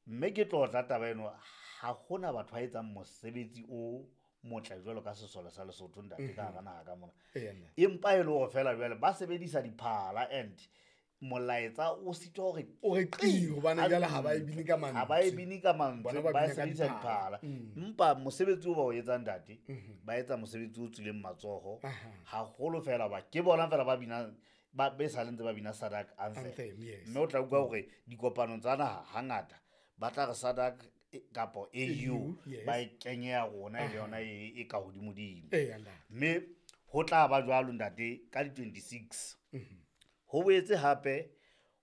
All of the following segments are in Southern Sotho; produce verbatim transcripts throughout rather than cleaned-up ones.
Mme ke tlotla taba eno, ha hona batho ba etsang mosebetsi o motle jwalo ka sesole sa Lesotho ntate ka hara naha ka mona. Eya, ntate. Empa e le hore feela jwale ba sebedisa diphala and molaetsa o sitwa hore O re qi, hobane jwale ha ba e bine ka mantswe. Ha ba e bine ka mantswe, Bona ba ba bina ka sebedisa diphala. diphala. Empa mosebetsi o ba o etsang ntate, ba etsa mosebetsi o tswileng matsoho haholo feela hoba ke bona feela ba binang, ba be sa le ntse ba bina SADC anthem. Anthem, yes. Mme o tla utlwa hore dikopanong tsa naha hangata ba tla re SADC kapa A U, A U, yes. ba e kenye ya rona e le yona e, e ka hodimodimo. Eya, ntate. Mme ho tla ba jwalo ntate ka di twenty-six. Ho boetse hape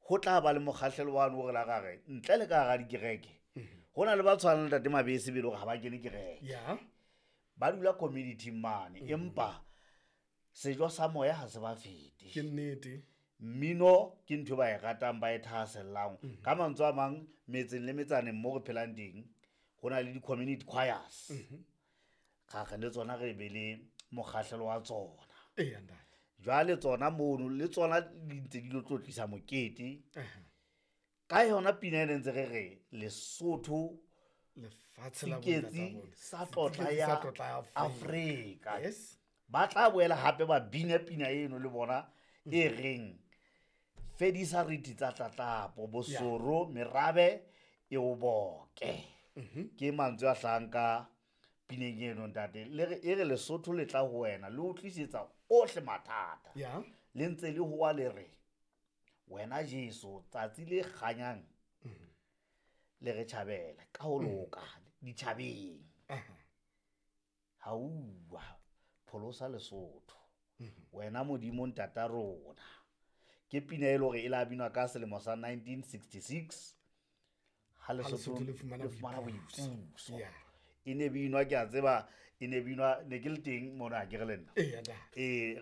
ho tla ba le mokgahlelo wa hore la gare ntle le ka hara dikereke. Ho na le ba tshwanang le ntate Mabese be le hore ha ba kene kereke. Ya. Ba dula community mane, empa sejo sa moya ha se ba fete. Ke nnete. Mmino ke ntho ba e ratang, ba e thahasellang. Ka mantswe a mang, metseng le metsaneng mo re phelang teng, ho na le di-community choirs. Ga re le tsona re be le mokgahlelo wa tsona. Eya, ntate. Jwale tsona mono, le tsona di ntse di lo tlotlisa mokete. Aha. Ka yona pina e ne ntse re re, Lesotho Lefatshe la Seketsi bontata rona. sa tlotla Seketsi ya sa tlotla ya Afrika. Afrika. Yes. Ba tla boela hape ba bina pina eno le bona e reng, fedisa riti tsa tlatlapo, bosoro, merabe e o boke. Ke mantswe a hlahang ka pineng eno ntate. Le re, e re Lesotho le tla ho wena, le o tlisetsa ohle mathata. Ya. Le ntse le hoa le re, wena Jesu, tsatsi le kganyang le re tjhabela ka ho loka ditjhabeng. Hauwa, pholosa Lesotho. Wena Modimo ntata rona. Ke pina e le hore e la binwa ka selemo sa nineteen sixty-six, ha Ha Lesotho Lesotho le fumana le fumana boipuso. boipuso. Yeah. E ne binwa, ke a tseba, e ne binwa, ne ke le teng mona, ha ke re le nna. Eya, ntate. Eh,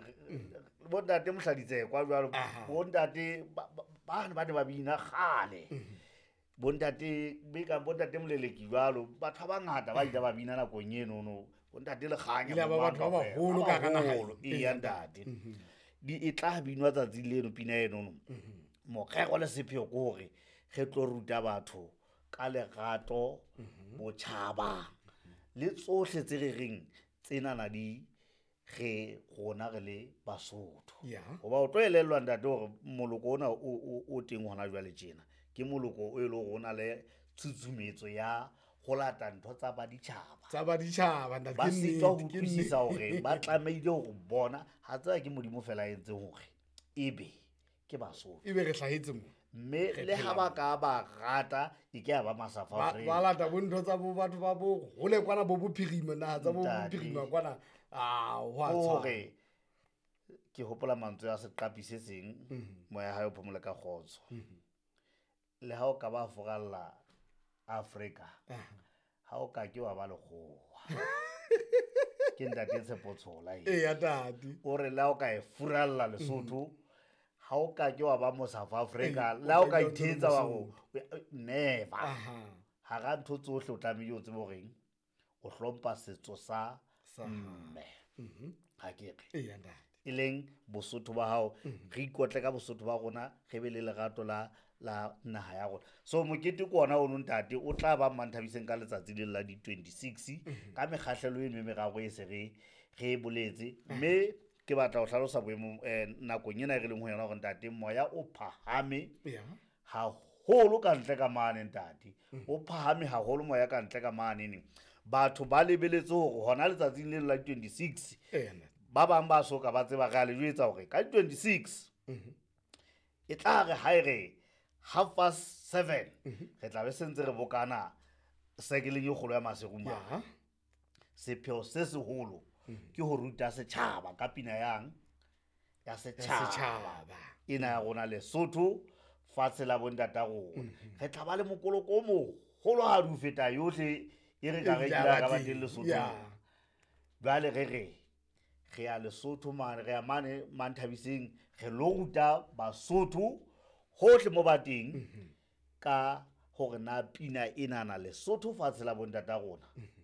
bo ntate Mohladitse kwa jwalo, Aha. bo ntate ba, ba, ba ne ba ne ba bina kgale. Bo ntate, be ka bo ntate Moleleki jwalo, batho ba bangata ba ile ba bina nakong eno no. Bo ntate Lekganya, Ile ba bo batho ba mang kaofela. baholo ka hara naha. Baholo, eya, ntate. Di e tla binwa tsatsi leno pina eno no. Morero le sepheo ke hore re tlo ruta batho ka lerato, botjhaba le tsohle tse re reng tsenana di re rona re le Basotho. Ya. Hoba o tlo elellwa ntate hore moloko ona o, o, o teng hona jwale tjena. Ke moloko o e leng hore o na le tshutshumetso ya ho lata ntho tsa baditjhaba. Tsa baditjhaba, ntate, Ba ke sitwa ho nnete, ke utlwisisa nnete. hore ba tlamehile hore bona, ha tseba ke Modimo fela a entseng hore ebe ke Basotho. Ebe re hlahetse mo. Mme Re le ha phela ba mo. ka ba rata, e ke ya ba ma-South Ba, Africa. ba lata bo ntho tsa bo batho ba bo hole kwana bo bophirima, naha tsa bo Ntate. bophirima kwana. Ah, ho a tshwana. Hore ke hopola mantswe a seqapi se seng, Mhm. moya hae o phomole ka kgotso. Mhm. Le ha o ka ba furalla Afrika, Aha. ha o ka ke wa ba lekgowa. Ke ntate Tshepo Tshola eo. Eya, ntate. O re le ha o ka e furalla Lesotho, ha o ka ke wa ba mo South Africa, Ee, le ha o ka o tla ithetsa wa Mosotho. go, never. Aha. Hara ntho tsohle o tlamehile o tsebe horeng o hlompha setso sa Sa mme. Mhm. Ha ke re. Eya, ntate. E leng Bosotho ba hao, Mhm. re ikotle ka Bosotho ba rona, re be le lerato la, la naha ya rona. So mokete ke ona ono ntate, o tla ba Mmanthabiseng ka letsatsi le la di twenty-six, Mhm. ka mekgahlelo eno e meraro e se re, re e boletse. Mme ke batla ho hlalosa boemo, eh, nakong ena e re leng ho yona hore ntate, moya o phahame Ya. haholo ka ntle ka mane ntate. Mhm. O phahame haholo moya ka ntle ka mane neng. Batho ba lebeletse hore hona letsatsing le la twenty-six, Eya, ntate. ba bang ba soka ba tseba re a le jwetsa hore ka twenty-six, Mhm. e tla re ha e re half past seven, Mhm. re tla be se ntse re bokana sekeleng e kgolo ya Maseru mane. Ya. Sepheo se seholo Mhm. ke ho ruta setjhaba ka pina yang ya Ya setjhaba. setjhaba. Ena ya rona Lesotho, fatshe la bontata rona. Mhm. Re tla ba le mokoloko o moholo ha di feta yohle e re ka E re ile kila ya ka ba ba teng. teng Lesotho. Ya. Jwale re re, re ya Lesotho mane, re ya mane Manthabiseng, re lo ruta Basotho hohle mo ba teng Mhm. ka hore na pina enana Lesotho fatshe la bontata rona Mhm.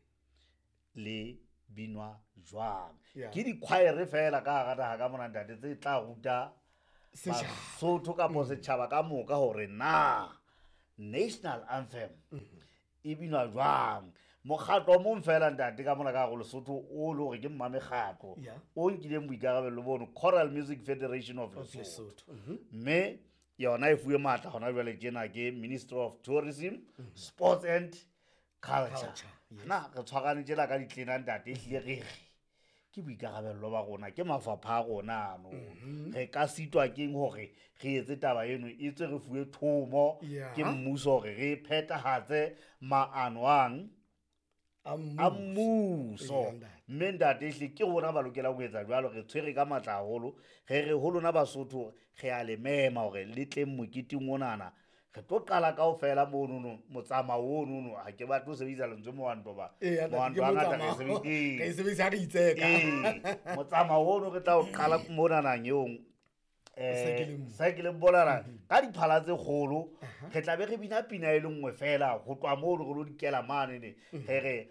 le binwa jwang. Ya. Ke di-choir fela ka hara naha ka mona ntate tse tla ruta Setjhaba. Basotho kapa setjhaba ka moka hore na National anthem e binwa jwang. Mokgatlo o mong fela ntate ka mona ka go Lesotho o le hore ke mmamekgatlo Yeah. o nkileng boikarabello bono, Choral Music Federation of Of Lesotho. Lesotho. Mhm. Mme yona e fuwe matla hona jwale tjena ke Ministry of Tourism, Sports and Culture. Culture, yes. Na re tshwarane tjena ka ditlena ntate, ehlile re re ke boikarabello ba rona, ke mafapha a rona ano. Mhm. Re ka sitwa keng hore re etse taba eno e tswe re fuwe thomo Yeah. ke mmuso hore re phethahatse maano ang A a mmuso. mmuso. Eya, ntate. Mme ntate ehlile ke rona ba lokelang ho etsa jwalo, re tshwere ka matla haholo. Re re ho lona Basotho re a le mema hore le tleng moketeng onana. Re tlo qala kaofela monono, motsamao onono. Ha ke batle ho sebedisa lentswe mohwanto ba. Eya, ntate, Mohwanto ke hangata re motsamao. sebedisa- Re e sebedisa ha re itseka. Ee, motsamao ono re tla o qala monanang eong, eh, Saekele mo. saekeleng bonana ka diphala tse kgolo. Re tla be re bina pina e le nngwe fela ho tloha moo re lo dikela mane ne. Re re